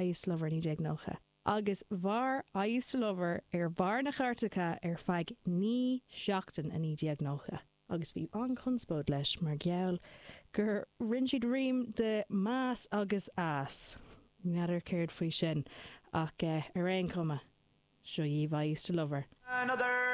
I Used to Love Her 1990. Agus mhair I Used to Love Her ar bharr na chairteacha ar feadh 9 seachtain i 1990. Agus bhí an-chonspóid leis mar gheall gur rinne siad rím de 'mass' agus 'ass'. N'fheadar céard faoi sin, ach ar aon chuma, seo dhaoibh I Used to Love Her. Another.